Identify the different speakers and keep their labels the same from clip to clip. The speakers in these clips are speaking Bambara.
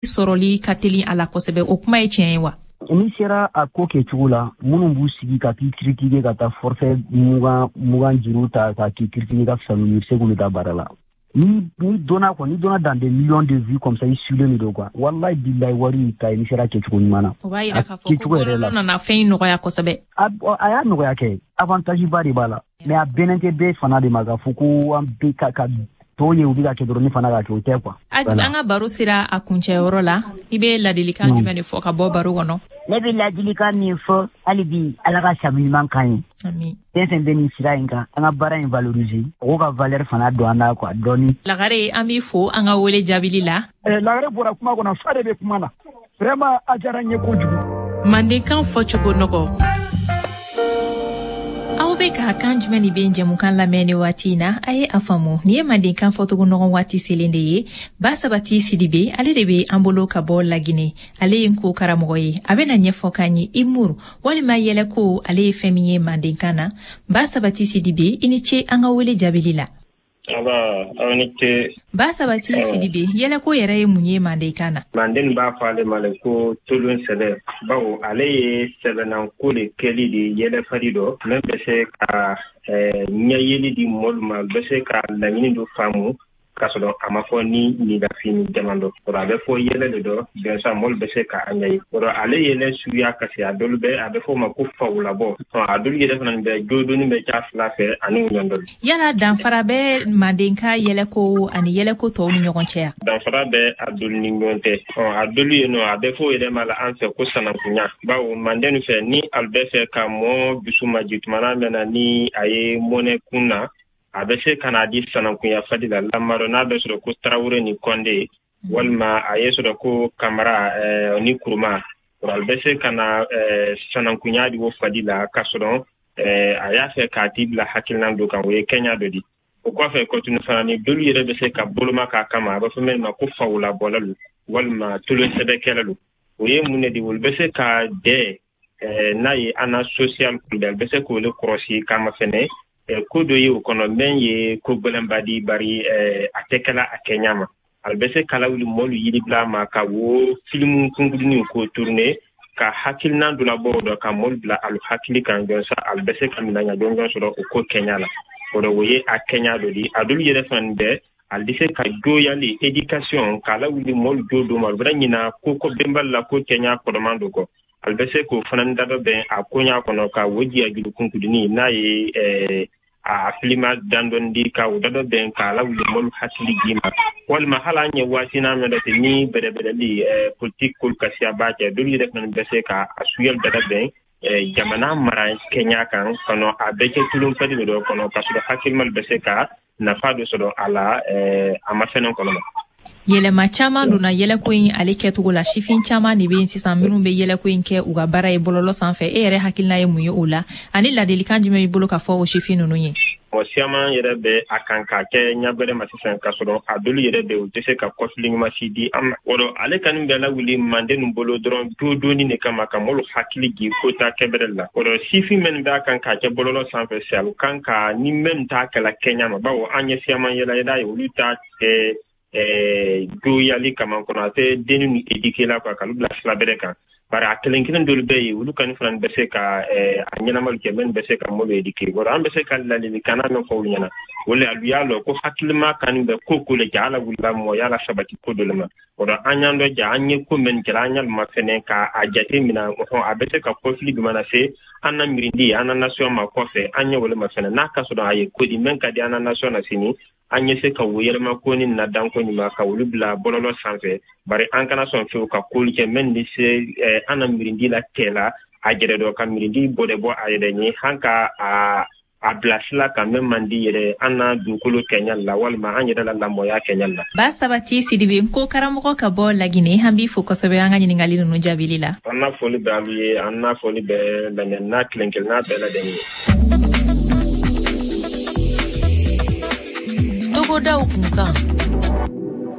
Speaker 1: Sɔrɔli ka teli a la kosɛbɛ, o kuma ye tiɲɛ ye wa?
Speaker 2: N'i sera a ko kɛcogo la, minnu b'u sigi ka k'i critiquer, ka taa forfait 20 20 juru ta ka k'i critiquer, ka fisa n'u ye, i bɛ se k'olu ta baara la. Ni donna quoi, ni donna dans des millions de vues comme ça, i suilen de don quoi. Wallahi billahi, wari y'i ta ye n'i sera kɛcogo ɲuman na.
Speaker 1: O b'a yira k'a fɔ ko bɔlɔlɔ nana fɛn in nɔgɔya kosɛbɛ.
Speaker 2: A y'a nɔgɔya kɛ, avantage ba de b'a la, mais a bɛnnen tɛ bɛɛ fana de ma k'a fɔ ko an bɛ ka tɔw ye, u bɛ ka kɛ dɔrɔn, ne fana ka kɛ, o tɛ quoi.
Speaker 1: An ka baro sera a kuncɛyɔrɔ la. I bɛ ladilikan jumɛn de fɔ ka bɔ baro kɔnɔ?
Speaker 3: Ne bɛ ladilikan min fɔ hali bi, Ala ka sabu ɲuman kan ye. Fɛn fɛn bɛ nin sira in kan, an ka baara in valoriser, mɔgɔw ka valeur fana don an na quoi, dɔɔni.
Speaker 1: Lagare, an b'i fo an ka wele jaabili la.
Speaker 4: Lagare bɔra kuma kɔnɔ, fa de bɛ kuma na. Vraiment, a diyara n ye kojugu.
Speaker 5: Mandenkan fɔcogo nɔgɔ.
Speaker 1: Aw bɛ ka Kan jumɛn ni bɛ jɛmukan lamɛn ni waati in na. A ye a faamu, nin ye mandenkan fɔcogo nɔgɔn waati selen de ye. Ba Sabati Sidibe, ale de bɛ an bolo ka bɔ Lagine. Ale ye n ko karamɔgɔ ye. A bɛna ɲɛfɔ k'an ye humour walima yɛlɛko, ale ye fɛn min ye mandenkan na. Ba Sabati Sidibe, i ni ce an ka wele jaabili la.
Speaker 6: Aw ni ce.
Speaker 1: Ba Sabati Sidibe, yɛlɛko yɛrɛ ye mun ye mandenkan na?
Speaker 6: Manden b'a fɔ ale ma le ko tolon sɛbɛ, bawo ale ye sɛbɛnnanko le kɛli de yɛlɛfadi dɔ min bɛ se ka ɲɛyeli di mɔlu ma, bɛ se ka laɲini dɔ faamu k'a sɔrɔ a ma fɔ ni nidafini jaman dɔ. A bɛ fɔ yɛlɛ de dɔ bɛnsa, mɔlu bɛ se ka a ɲɛ ye. Ale yɛlɛ suguya kasi, a dɔlu bɛ, a bɛ fɔ o ma ko fawulabɔ. A dɔlu yɛrɛ fana bɛ jodoni bɛ ca fila fɛ ani ɲɔndɔli.
Speaker 1: Yala danfara bɛ mandenka yɛlɛko ani yɛlɛko tɔw ni ɲɔgɔn cɛ yan?
Speaker 6: Danfara bɛ a dɔlu ni ɲɔgɔn cɛ. A dɔlu ye nɔ, a bɛ fɔ o yɛrɛ ma la an fɛ ko sanankunya, bawo manden fɛ, ni alu bɛ fɛ ka mɔɔ dusu maji tumana mɛn na, ni a ye mɔnɛ kun na, a bɛ se ka n'a di sanankunya fadi la lamadɔ, n'a bɛ sɔrɔ ko Tarawele ni Kɔnde, walima a ye sɔrɔ ko Kamara ni Kuruma. A bɛ se ka na sanankunya di o fadi la k'a sɔrɔ a y'a fɛ k'a ti bila hakilina dɔ kan, o ye kɛɲa dɔ di. O kɔfɛ kɔtuni fana, ni dolu yɛrɛ bɛ se ka boloma k'a kama, a bɛ fɔ min ma ko fawulabɔlalu walima tolonsɛbɛkɛlalu. O ye mun de di? Olu bɛ se ka dɛ n'a ye an na social kulubali bɛ se k'olu kɔrɔsi kama fɛnɛ ko dɔ ye o kɔnɔ min ye ko gwɛlɛnba di, bari a tɛ kɛla a kɛɲa ma. A bɛ se k'a lawuli mɔlu yiribila ma ka wo filimu kunkuruninw k'o tourner, ka hakilina dɔ labɔ o dɔ, ka mɔlu bila alu hakili kan jɔnsa alu bɛ se ka minɛɲa jɔnjɔn sɔrɔ o ko kɛɲa la. O dɔ, o ye a kɛɲa dɔ di. A dolu yɛrɛ fana bɛɛ, ale bɛ se ka joyali éducation k'a lawuli mɔlu jo do ma, olu bɛna ɲina ko benbali la ko kɛɲa kɔrɔman do kɔ. Ale bɛ se k'o fana da dɔ bɛn a koɲa kɔnɔ, ka o jiya juru kunkurunin n'a ye a filima dandɔni di, ka o da dɔ bɛn k'a lawuli mɔlu hakili ji ma. Walima hali an ye waati n'a mɛn ten ni bɛrɛbɛrɛli politique kolu ka siya b'a kɛ, dolu yɛrɛ fana bɛ se ka a suyali da bɛn jamana mara kɛɲa kan kɔnɔ. A bɛɛ kɛ tulonfɛn de dɔ kɔnɔ k'a sɔrɔ hakilimalu bɛ se ka nafa dɔ sɔrɔ a la a ma fɛnɛ kɔnɔ.
Speaker 1: Yɛlɛma caman donna yɛlɛko in ale kɛcogo la. Sifin caman de bɛ yen sisan minnu bɛ yɛlɛko in kɛ u ka baara ye bɔlɔlɔ sanfɛ. E yɛrɛ hakilina ye mun ye o la, ani ladilikan jumɛn b'i bolo ka fɔ o sifin ninnu ye?
Speaker 6: Mɔgɔ siyaman yɛrɛ bɛ a kan k'a kɛ ɲa gwɛrɛ ma sisan, k'a sɔrɔ a dolu yɛrɛ bɛ, u tɛ se ka kɔfili ɲuman si di an ma. O rɔ, ale kani bɛ lawuli manden ninnu bolo dɔrɔn jodoni de kama, ka mɔlu hakili jigi ko ta kɛbɛrɛ la. O rɔ, sifin minnu b'a kan k'a kɛ bɔlɔlɔ sanfɛ, siyalu kan ka ni minnu t'a kɛla kɛɲa ma, bawo an ye siyaman yɛlɛ yɛlɛ ye, olu t'a kɛ joyali kama kɔnɔ, a tɛ denni ni éduquer la quoi, k'olu bila sira bɛrɛ kan. Bari a kelen kelen dolu bɛ yen, olu kani fana bɛ se ka a ɲɛnamalu kɛ minnu bɛ se ka mɔlu éduquer. O an bɛ se ka ladilikan min fɔ olu ɲɛna, o le alu y'a lɔn ko hakilima kani bɛ ko ko le ja ala wulila mɔgɔya la sabati ko dɔ le ma. O rɔ, an y'an dɔ ja, an ye ko min kɛra, an y'alu mafɛnɛ ka a jate mina hɔn, a bɛ se ka kɔfili jumɛn lase an na mirindi, an na nation ma kɔfɛ. An ye o le mafɛnɛ n'a ka sɔrɔ a ye ko di min ka di an na nation na sini, an ye se ka wo yɛlɛma ko ni na danko ɲuman ka olu bila bɔlɔlɔ sanfɛ. Bari an kana sɔn fewu ka kolu kɛ min bɛ se an na mirindi la kɛla a yɛrɛ dɔ, ka mirindi bɔdɛ bɔ a yɛrɛ ɲɛ, han ka a bila sila kan min man di yɛrɛ an na dugukolo kɛɲa la, walima an yɛrɛ la lamɔya kɛɲa la.
Speaker 1: Ba Sabati Sidibe, ko karamɔgɔ ka bɔ Lagine, an b'i fo kosɛbɛ an ka ɲininkali ninnu jaabili la.
Speaker 6: An na foli bɛ alu ye, an na foli bɛ lamɛnna kelen kelenna bɛɛ lajɛlen ye.
Speaker 5: Togodaw kunkan.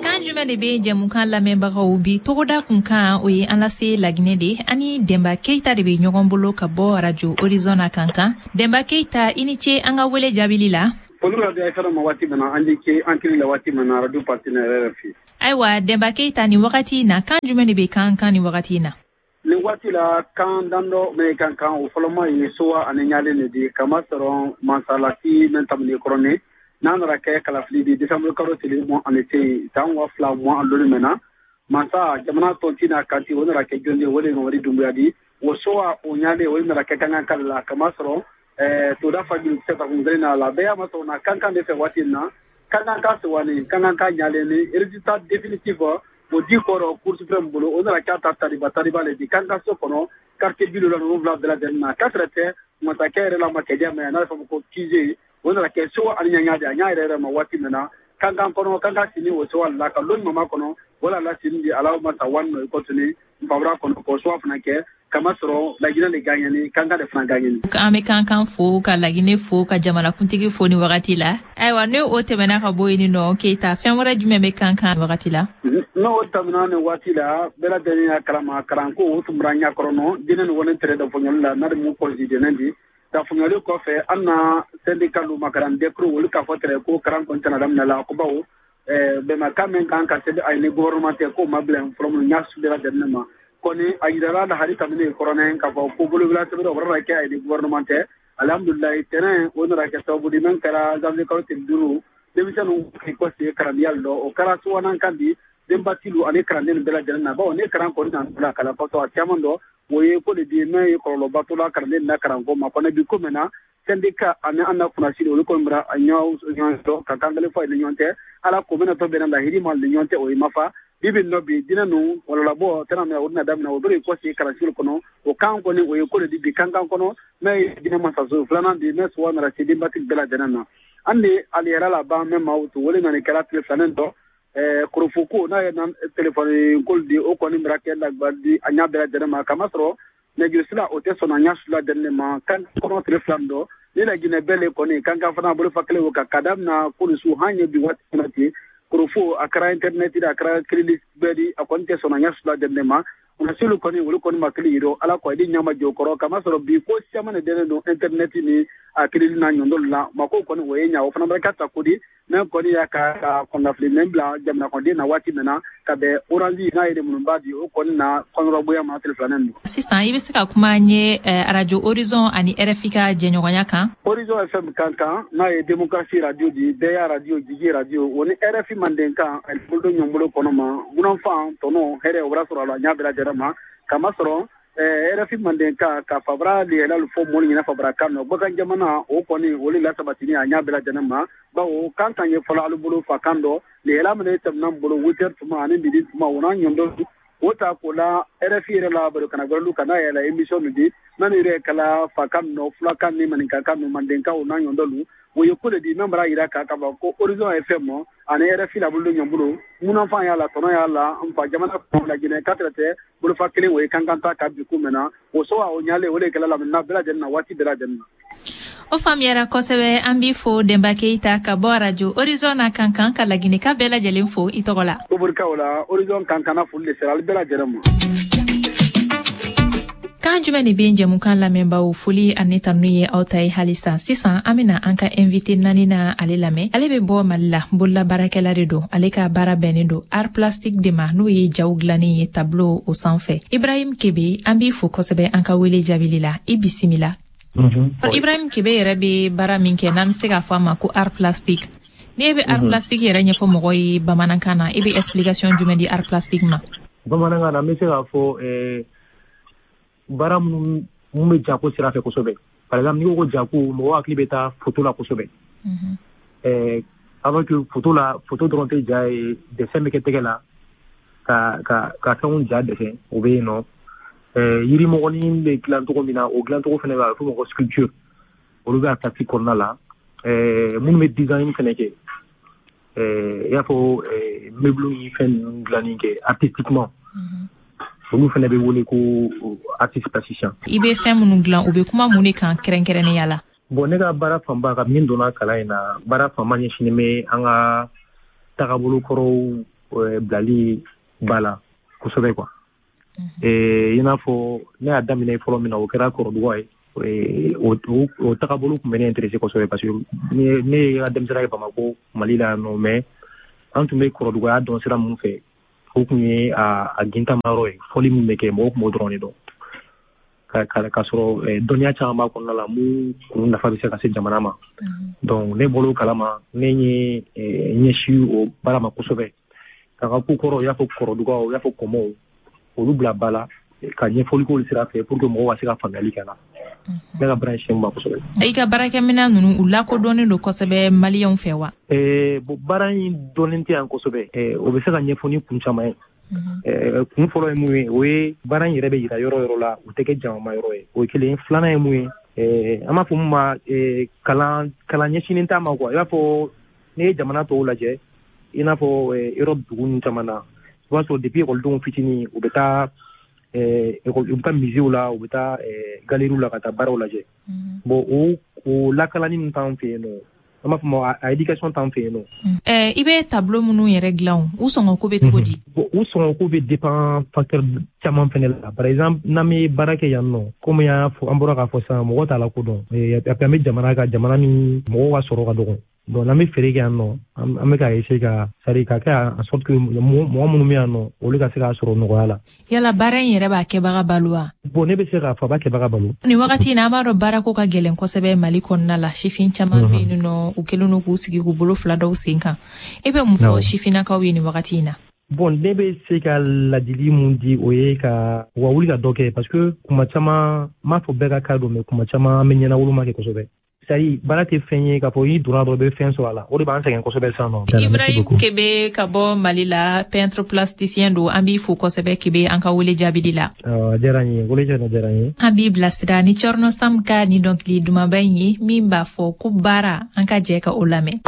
Speaker 1: Kan jumɛn de bɛ jɛmukan lamɛnbagaw bi togoda kunkan, o ye an lase Laginɛ de. Ani Denba Keyita de bɛ ɲɔgɔn bolo ka bɔ Radio Horizon na Kankan. Denba Keyita, i ni ce an ka wele jaabili la.
Speaker 7: Foli bɛ radio ma waati min na, an ni ce an tili la waati min na radio partenaire RFI.
Speaker 1: Ayiwa, Denba Keyita, nin wagati na, kan jumɛn de bɛ Kankan nin wagati na?
Speaker 7: Nin waati la, kan dandɔ min kan kan, o fɔlɔma ye sowa ani ɲalen de di, kamasɔrɔ mansalati min tamini kɔrɔni n'a nana kɛ kalafili di décembre kalo tile 28 san 2025 mɛn na, mansa jamana tɔnti n'a kanti, o nana kɛ jɔn ye? O de ye Mamadi Dunbuya di. O sowa o ɲalen, o nana kɛ kankan kala la, kamasɔrɔ toda fajuru kisɛ takun kelen na la bɛɛ y'a masɔrɔ na kankan de fɛ waati in na, kankan ka sowani, kankan ka ɲalen ni résultat définitif o di kɔrɔ Cour suprême bolo, o nana k'a ta tariba tariba le di kankan so kɔnɔ, quartier 77 bɛɛ lajɛlen na. K'a tɛrɛ tɛ masakɛ yɛrɛ la makɛdiya mɛn, n'a bɛ fɔ ma ko QG, o nana kɛ sowa ani ɲaɲa de a ɲa yɛrɛ yɛrɛ ma waati min na kankan kɔnɔ. Kankan sini o sowa la ka lon mama kɔnɔ wala la sini di ala masa wani nɔ i kɔtuni nfabura kɔnɔ k'o sowa fana kɛ, kamasɔrɔ Laginɛ de gagneni, kankan de fana gagneni.
Speaker 1: An bɛ kankan fo, ka Laginɛ fo, ka jamanakuntigi fo ni wagati la. Ayiwa, ne o tɛmɛna ka bɔ yen nɔ, Keyita, fɛn wɛrɛ jumɛn bɛ kankan wagati la?
Speaker 7: N'o tɛmɛna nin waati la, bɛɛ lajɛlen y'a kalama, karanko o tun bɔra ɲakɔrɔ nɔ diinɛ ni wani tɛrɛ dafonyali la n'a de mun kɔlɔsi dɛnɛ di dafonyali kɔfɛ, an na syndicat lu makaran dɛkuru olu k'a fɔ tɛrɛ ko karan kɔni tɛna daminɛ la, ko bawo bɛnbakan min kan ka sɛbɛn a ye ni gouvernement tɛ, k'o ma bila fɔlɔ minnu ɲa su bɛɛ lajɛlen ma kɔni. A yirala la hali kabini kɔrɔnɛ k'a fɔ ko bolobila sɛbɛn o bɔra kɛ a ye ni gouvernement tɛ. Alhamdulilayi, tɛnɛn o nana kɛ sababu di min kɛra janvier kalo tile 5, denmisɛnninw k'i kɔsegin kalandenya lɔ, o kɛra suwanan kan di denbatilu ani kalanden bɛɛ lajɛlen na, bawo ne karan kɔni na bila kalan kɔsɔ a caman dɔ, o ye ko de di min ye kɔlɔlɔba to la kalanden na karanko ma kɔnɔ. Bi ko min na, syndicat ani an na kunnasiri, olu kɔni bɔra a ɲɔgɔn dɔn ka kan kelen fɔ a ni ɲɔgɔn cɛ, ala ko bɛna tɔ bɛnna lahiri ma ni ɲɔgɔn cɛ, o ye mafa bi bi nɔ bi diinɛ ninnu walolabɔ tɛna minɛ, o bɛna daminɛ, o bɛ kɔsegin kalanso kɔnɔ. O kan kɔni, o ye ko de di bi kankan kɔnɔ mɛ ye diinɛ masaso filanan di mɛ suwa nana se denbatigi bɛɛ lajɛlen na. An de ali yɛrɛ laban mɛ maaw to wele nana kɛra tile filanan dɔ korofo n'a ye telefɔni ko di, o kɔni bɛra kɛ lagba di a ɲa bɛɛ lajɛlen ma, kamasɔrɔ nɛgɛjurusira o tɛ sɔn a ɲa su lajɛlen ma kan kɔnɔ tile fila dɔ ni Laginɛ bɛɛ le kɔni kankan fana bolofa kelen o kan ka daminɛ kolusu han ye bi waati min na ten. Korofo a kɛra internet a kɛra crédit bɛɛ di, a kɔni tɛ sɔn a ɲa su lajɛlen ma. Kunnasiliw kɔni, olu kɔni ma kelen yirɔ ala ko a di ɲama jɔ kɔrɔ, kamasɔrɔ bi ko caman de dɛnnen don internet ni a crédit n'a ɲɔndɔlu la mako kɔni, o ye ɲa o fana bɛ ka ta ko di mɛ kɔni y'a ka kɔnɔnafili mɛ bila jamana kɔnɔden na waati min na ka bɛn Orange n'a ye munba di, o kɔni na kɔnɔrɔbonya ma tile filanan don.
Speaker 1: Sisan i bɛ se ka kuma an ye radio Horizon ani RFI ka jɛɲɔgɔnya kan?
Speaker 7: Horizon FM kan kan n'a ye démocratie radio di, bɛɛ y'a radio, jigi radio, o ni RFI manden kan ani bolo ɲɔgɔn bolo kɔnɔ ma munafan tɔnɔ hɛrɛ o bɔra sɔrɔ a la ɲa bɛɛ lajɛlen ma, kamasɔrɔ RFI manden kan ka fabara lihɛlalu fɔ mɔlu ɲɛna fabara kan nɔ bagan jamana o kɔni o le lasabatini a ɲa bɛɛ lajɛlen ma, bawo kan kan ye fɔlɔ alu bolo fa kan dɔ lihɛla min ye tɛmɛna bolo 8h tuma ani midi tuma, o n'a ɲɔndɔ o ta k'o la RFI yɛrɛ la baro kana gbɛrɛlu ka n'a yɛlɛ émission nu di n'an yɛrɛ kala fa kan nɔ fulakan ni maninkakan nu mandenkan o n'a ɲɔndɔlu, o ye ko de di min bara yira k'a fɔ ko Horizon FM ani RFI la bolo ɲɔgɔn bolo munafan y'a la tɔnɔ y'a la nfa jamana kɔnɔ Laginɛ ka tɛrɛ tɛ bolofa kelen o ye kankan ta ka bi ko mɛn na o so o ɲale o de kɛla lamini bɛɛ lajɛlen na waati bɛɛ lajɛlen na.
Speaker 1: O faamuyara kosɛbɛ. An b'i fo, Denba Keyita, ka bɔ radio Horizon na kankan, ka Laginɛka bɛɛ lajɛlen fo i tɔgɔ la.
Speaker 7: O barikaw la, Horizon kankan na foli de sera ale bɛɛ lajɛlen ma.
Speaker 1: Kan jumɛn de bɛ jɛmukan lamɛnbaaw, foli ani tanu ye aw ta ye halisa. Sisan an bɛna an ka invité naani na ale lamɛn. Ale bɛ bɔ Mali la, bolola baarakɛla de don. Ale ka baara bɛnnen don art plastique de ma, n'o ye jaw dilannen ye tableau o sanfɛ. Ibrahim Kebe, an b'i fo kosɛbɛ an ka wele jaabili la. I bisimila. Ibrahim Kebe yɛrɛ bɛ baara min kɛ, n'an bɛ se k'a fɔ a ma ko art plastique, n'e bɛ art plastique yɛrɛ ɲɛfɔ mɔgɔ ye bamanankan na, i bɛ explication jumɛn di art plastique ma?
Speaker 8: Bamanankan na, an bɛ se k'a fɔ baara minnu bɛ jako sira fɛ kosɛbɛ. Par exemple, n'i ko ko jako, mɔgɔ hakili bɛ taa photo la kosɛbɛ. Alors que photo la, photo dɔrɔn tɛ ja ye, dessin bɛ kɛ tɛgɛ la ka fɛnw ja dessin, o bɛ yen nɔ. Yirimɔgɔnin bɛ dilan cogo min na, o dilancogo fana bɛ, a bɛ f'o ma ko sculpture, olu bɛ art plastique kɔnɔna la. Minnu bɛ design fana kɛ, i y'a fɔ meuble ni fɛn ninnu dilanni kɛ artistiquement, olu fana bɛ wele ko artiste plasticien.
Speaker 1: I bɛ fɛn minnu dilan, u bɛ kuma mun de kan kɛrɛnkɛrɛnnenya la?
Speaker 8: Bon, ne ka baara fanba, ka min donna kalan in na, baara fanba ɲɛsinnen bɛ an ka tagabolo kɔrɔw bilali ba la kosɛbɛ quoi. I n'a fɔ ne y'a daminɛ fɔlɔ min na, o kɛra kɔrɔduga ye. O tagabolo tun bɛ ne intéressé kosɛbɛ parce que ne ye ka denmisɛnninya kɛ Bamakɔ, Mali la yan nɔ, mais An tun bɛ kɔrɔdugaya dɔn sira mun fɛ, o tun ye a gintamayɔrɔ ye, fɔli min bɛ kɛ, mɔgɔw tun b'o dɔrɔn de dɔn. Ka sɔrɔ dɔnniya caman b'a kɔnɔna la mun kun nafa bɛ se ka se jamana ma. Donc ne bɔr'o kalama, ne ye ɲɛsin o baara ma kosɛbɛ. Ka n ka ko kɔrɔ, i y'a fɔ kɔrɔdugaw, i y'a fɔ kɔmɔw, olu bila ba la ka ɲɛfɔli k'olu sira fɛ pour que mɔgɔw ka se ka faamuyali kɛ la. Ne ka baara in ma kosɛbɛ.
Speaker 1: I ka baarakɛminɛn ninnu, u lakodɔnnen don kosɛbɛ maliyɛnw fɛ wa?
Speaker 8: Bon, baara in dɔnnen tɛ yan kosɛbɛ. O bɛ se ka ɲɛfɔ ni kun caman ye. Kun fɔlɔ ye mun ye, o ye baara in yɛrɛ bɛ yira yɔrɔ yɔrɔ la, o tɛ kɛ jamama yɔrɔ ye. O ye kelen. Filanan ye mun ye, an b'a fɔ mun ma kalan ɲɛsinnen t'a ma quoi. I b'a fɔ n'i ye jamana tɔw lajɛ, i n'a fɔ Europe dugu ninnu caman na, i b'a sɔrɔ depuis ekɔlidenw fitinin, u bɛ taa u bɛ taa musée la, u bɛ taa galerie la ka taa baaraw lajɛ. Bon, o lakalanni min t'an fɛ yen nɔ, an b'a fɔ ma a éducation t'an fɛ yen nɔ.
Speaker 1: I bɛ tableau minnu yɛrɛ dilan, u sɔngɔ ko bɛ cogo di?
Speaker 8: Bon, u sɔngɔ ko bɛ dépend facteur caman fɛnɛ la. Par exemple, n'an bɛ baara kɛ yan nɔ, komi an y'a fɔ, an bɔra k'a fɔ sisan, mɔgɔ t'a la ko dɔn. Et puis an bɛ jamana ka jamana min mɔgɔw ka sɔrɔ ka dɔgɔ. Donc n'an bɛ feere kɛ yan nɔ, an bɛ ka essayer ka, c'est à dire ka kɛ en sorte que mɔgɔ minnu bɛ yan nɔ, olu ka se k'a sɔrɔ nɔgɔya la.
Speaker 1: Yala baara in yɛrɛ b'a kɛbaga balo wa?
Speaker 8: Bon, ne bɛ se k'a fɔ a b'a kɛbaga balo.
Speaker 1: Nin wagati in na, an b'a dɔn baarako ka gɛlɛn kosɛbɛ Mali kɔnɔna la. Sifin caman bɛ yen nɔ, u kɛlen don k'u sigi k'u bolo fila dɔw sen kan. E bɛ mun fɔ sifinnakaw ye nin wagati in na?
Speaker 8: Bon, ne bɛ se ka ladili mun di, o ye ka u ka wuli ka dɔ kɛ, parce que kuma caman, n m'a fɔ bɛɛ ka cas don, mais kuma caman an bɛ ɲɛnawoloma kɛ kosɛbɛ. C'est-à-dire baara tɛ fɛn ye k'a fɔ i donna dɔrɔn i bɛ fɛn sɔrɔ a la, o de b'an sɛgɛn kosɛbɛ sisan nɔ.
Speaker 1: Ibrahim Kebe ka bɔ Mali la, peintre plasticien don, an b'i fo kosɛbɛ Kebe an ka wele jaabili la.
Speaker 8: A diyara n ye, wele diyara n ye.
Speaker 1: An b'i bilasira ni Thierno Sam ka ni dɔnkili dumanba in ye min b'a fɔ ko baara, an ka jɛ ka o lamɛn.